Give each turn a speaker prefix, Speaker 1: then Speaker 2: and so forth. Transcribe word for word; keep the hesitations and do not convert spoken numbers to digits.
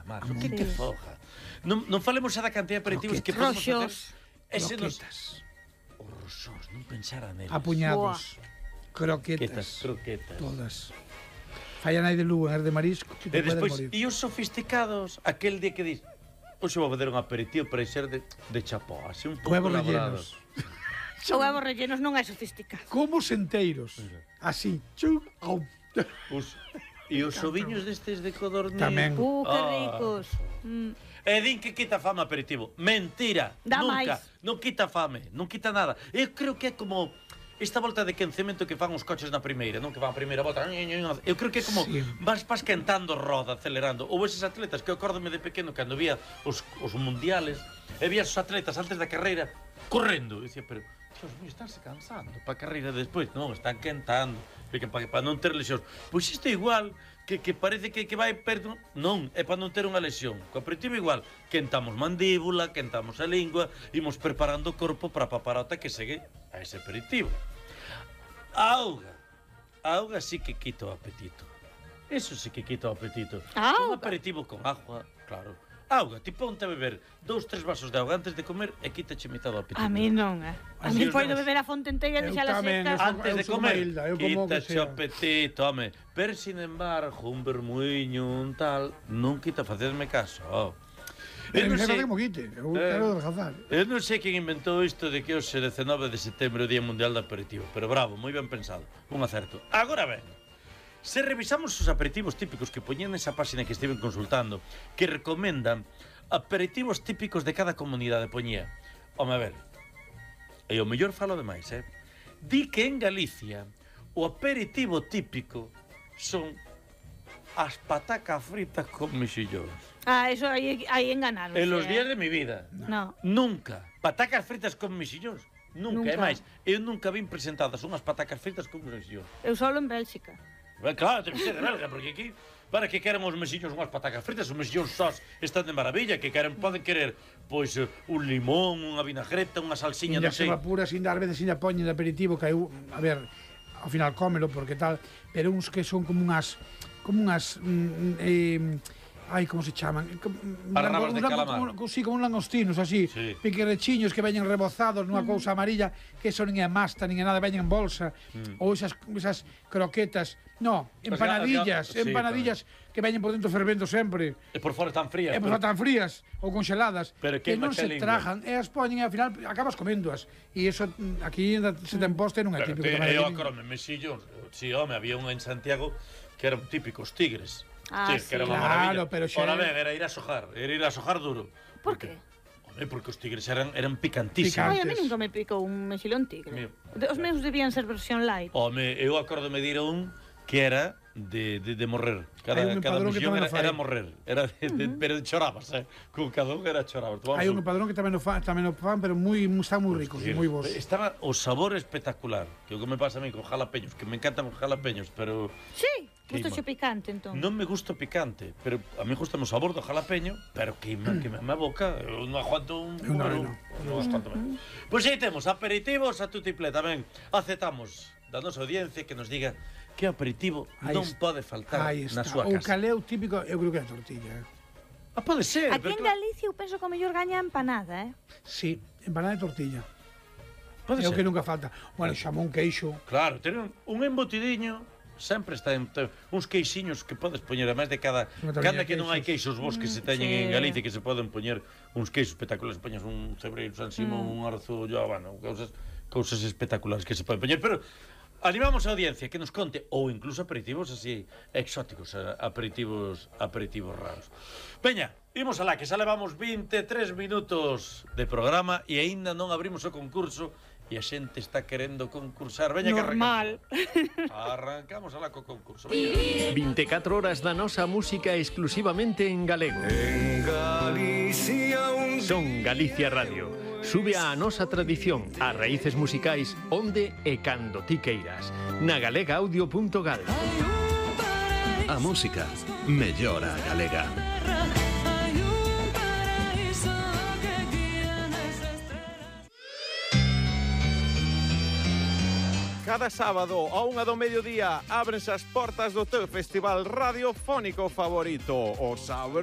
Speaker 1: Mar, o que que foja? Non, non falemos xa da cantidad de aperitivos que podemos facer. Ese nos... Os roxós, non pensara neles.
Speaker 2: Apuñados. Croquetas.
Speaker 1: Croquetas.
Speaker 2: Todas. Falla nai de Lugo, as de marisco, que te
Speaker 1: e despois,
Speaker 2: morir.
Speaker 1: E os sofisticados, aquel día que dis, hoxe vou fazer un aperitivo para ser de, de chapó, así un pouco
Speaker 2: huevos
Speaker 1: elaborado.
Speaker 2: rellenos.
Speaker 3: O huevos rellenos non é sofisticado.
Speaker 2: Como enteiros. Así. Chum, au.
Speaker 1: Os, e os oviños destes de codorniz.
Speaker 2: Tamén.
Speaker 3: Uh, que
Speaker 1: Ah.
Speaker 3: ricos. Mm.
Speaker 1: E din que quita fame aperitivo. Mentira.
Speaker 3: Dá
Speaker 1: Nunca.
Speaker 3: máis.
Speaker 1: Non quita fame. Non quita nada. Eu creo que é como esta volta de quencemento que fan os coches na primeira, non? Que van a primeira volta. Eu creo que é como
Speaker 2: Sí.
Speaker 1: vas, vas quentando roda, acelerando. Ou eses atletas que eu acórdome de pequeno cando vía os, os mundiales e vía os atletas antes da carreira correndo. E dicía, pero, Dios mío, estánse cansando para a carreira despois. Non, están quentando. Para, para non ter lesións. Pois isto é igual, que, que parece que, que vai perto. Non, é para non ter unha lesión. Co aperitivo igual, quentamos mandíbula, quentamos a lingua, imos preparando o corpo para a paparota que segue a ese aperitivo. A auga. A auga sí que quita o apetito. Eso sí que quita o apetito.
Speaker 3: A
Speaker 1: Un
Speaker 3: auga?
Speaker 1: aperitivo con agua, claro. Auga, ti ponte a beber dous, tres vasos de auga antes de comer e quítache mitad do apetito.
Speaker 3: A mí non, eh. A
Speaker 1: Así
Speaker 3: mí
Speaker 1: os
Speaker 3: poido
Speaker 1: nenos.
Speaker 3: beber a fonte inteira e
Speaker 2: Eu
Speaker 3: deixala
Speaker 2: tamén,
Speaker 3: seca.
Speaker 2: eu-
Speaker 1: Antes de
Speaker 2: sou
Speaker 1: comer,
Speaker 2: como Hilda, eu como o que
Speaker 1: quítache
Speaker 2: sea.
Speaker 1: o apetito, home. Pero, sin embargo, un vermuiño, un tal, non quita, facedme caso. Oh. Eu
Speaker 2: Eu
Speaker 1: non
Speaker 2: non sei
Speaker 1: sei,
Speaker 2: como quite. Eu
Speaker 1: Eh.
Speaker 2: quero adelgazar.
Speaker 1: eu non sei quen inventou isto de que hoxe dezenove de setembro é o Día Mundial do Aperitivo, pero bravo, moi ben pensado, un acerto. Agora ben, se revisamos os aperitivos típicos que poñen nesa páxina que estiven consultando, que recomendan aperitivos típicos de cada comunidade, poñía. Home, a ver, e o mellor falo demais, eh? Di que en Galicia o aperitivo típico son as patacas fritas con mexillóns.
Speaker 3: Ah, eso aí, aí enganaron.
Speaker 1: En los días de mi vida.
Speaker 3: No.
Speaker 1: Nunca. Patacas fritas con mexillóns. Nunca.
Speaker 3: Nunca.
Speaker 1: É máis, eu nunca vin presentadas unhas patacas fritas con mexillóns.
Speaker 3: Eu solo en Bélxica.
Speaker 1: Ben, claro, ten que ser de belga, porque aquí, para que queren os mexillóns unhas patacas fritas, os mexillóns sós están de maravilla, que queren, poden querer, pois, eh, un limón, unha vinagreta, unha salsiña,
Speaker 2: Inda
Speaker 1: non
Speaker 2: se
Speaker 1: sei.
Speaker 2: vapura, sin dar veces, sin poñen de aperitivo, que eu, a ver, ao final cómelo, porque tal, pero uns que son como unhas, como unhas, mm, eh, ai, como se chaman?
Speaker 1: Barrabas de calamar.
Speaker 2: Como, sí, como un langostinos, así,
Speaker 1: Sí.
Speaker 2: piquerechiños que veñen rebozados nunha cousa amarilla, que eso nin é masta, nin é nada, veñen en bolsa,
Speaker 1: Mm.
Speaker 2: ou esas, esas croquetas, no,
Speaker 1: Pues
Speaker 2: empanadillas,
Speaker 1: sí,
Speaker 2: empanadillas que veñen por dentro fervendo sempre,
Speaker 1: E por fora están frías.
Speaker 2: e por tan frías ou congeladas,
Speaker 1: Pero
Speaker 2: que
Speaker 1: que
Speaker 2: non se
Speaker 1: macha lingua.
Speaker 2: trajan, e as poñen e ao final acabas coméndoas. E iso mm, aquí ainda se ten poste non é
Speaker 1: Pero
Speaker 2: típico.
Speaker 1: te,
Speaker 2: tamén
Speaker 1: eu
Speaker 2: aquí.
Speaker 1: acordome, mexillóns. Si, home, había un en Santiago que eran típicos tigres.
Speaker 3: Ah,
Speaker 1: Sí,
Speaker 3: sí.
Speaker 1: que era unha
Speaker 2: Claro,
Speaker 1: maravilla.
Speaker 2: pero xa-
Speaker 1: Ora ben, era ir a sojar, era ir a sojar duro.
Speaker 3: Por qué?
Speaker 1: Home, porque os tigres eran, eran picantísimos.
Speaker 3: Ai, a
Speaker 2: Picantes.
Speaker 3: mí nunca me picou un mexilón tigre.
Speaker 1: Mío.
Speaker 3: De- Os meus debían ser versión light.
Speaker 1: Home, eu acordome de ir a un que era de, de, de morrer. Cada,
Speaker 2: Hai un
Speaker 1: cada
Speaker 2: empadrón que
Speaker 1: mexillón
Speaker 2: tamén
Speaker 1: era,
Speaker 2: o fai.
Speaker 1: era morrer. Era de, de, pero chorabas, eh? Con cada un era chorabas. Tomabas
Speaker 2: Hai un padrón que tamén o fan, tamén o fan, pero moi moi- están moi ricos,
Speaker 1: Sí,
Speaker 2: moi bons.
Speaker 1: Estaba o sabor espectacular. Que o que me pasa a mí con jalapeños, que me encantan os jalapeños, pero
Speaker 3: Sí, gusto
Speaker 1: Queima.
Speaker 3: xe picante, entón.
Speaker 1: non me gusta o picante, pero a mí gusta o sabor do jalapeño, pero que me, que me, me boca, eu non aguanto un
Speaker 2: Eu non,
Speaker 1: pero
Speaker 2: eu non.
Speaker 1: non aguanto máis. Pois aí temos aperitivos a tutiplé tamén. Aceptamos da nosa audiencia que nos diga que aperitivo
Speaker 2: Aí
Speaker 1: non
Speaker 2: está.
Speaker 1: pode faltar
Speaker 2: Aí
Speaker 1: na
Speaker 2: está.
Speaker 1: súa
Speaker 2: O
Speaker 1: casa.
Speaker 2: caleu típico, eu creo que é a tortilla. eh.
Speaker 1: Ah, pode ser,
Speaker 3: Aquí
Speaker 1: pero
Speaker 3: en
Speaker 1: claro,
Speaker 3: Galicia eu penso que o mellor gaña a empanada, eh?
Speaker 2: Sí, empanada de tortilla.
Speaker 1: pode
Speaker 2: É o
Speaker 1: ser.
Speaker 2: que nunca falta. Bueno, xamón, queixo.
Speaker 1: Claro, ter un, un embotidiño sempre está en te- uns queixiños que podes poñer, además de cada
Speaker 2: Unha tortilla
Speaker 1: cada
Speaker 2: de
Speaker 1: que non hai
Speaker 2: queixos.
Speaker 1: queixos vos que se teñen
Speaker 3: sí.
Speaker 1: en Galicia que se poden poñer uns queixos espectaculares, poñes un cebreiro San Simón, un arzullo, bueno, cousas cousas espectaculares que se poden poñer, pero animamos a audiencia que nos conte ou incluso aperitivos así exóticos, a- aperitivos aperitivos raros. Veña, imos alá, que xa levamos veintitrés minutos de programa e aínda non abrimos o concurso e a xente está querendo concursar. Veña que
Speaker 3: Normal.
Speaker 1: arrancamos. Arrancamos alá co concurso. Veña.
Speaker 4: veinticuatro horas da nosa música exclusivamente en galego.
Speaker 5: En Galicia un
Speaker 4: Son Galicia Radio. Sube a nosa tradición, as raíces musicais, onde e cando ti queiras. Na galega audio punto gal.
Speaker 6: A música mellora a galega.
Speaker 7: Cada sábado a unha do mediodía ábrense as portas do teu festival radiofónico favorito, o Sabro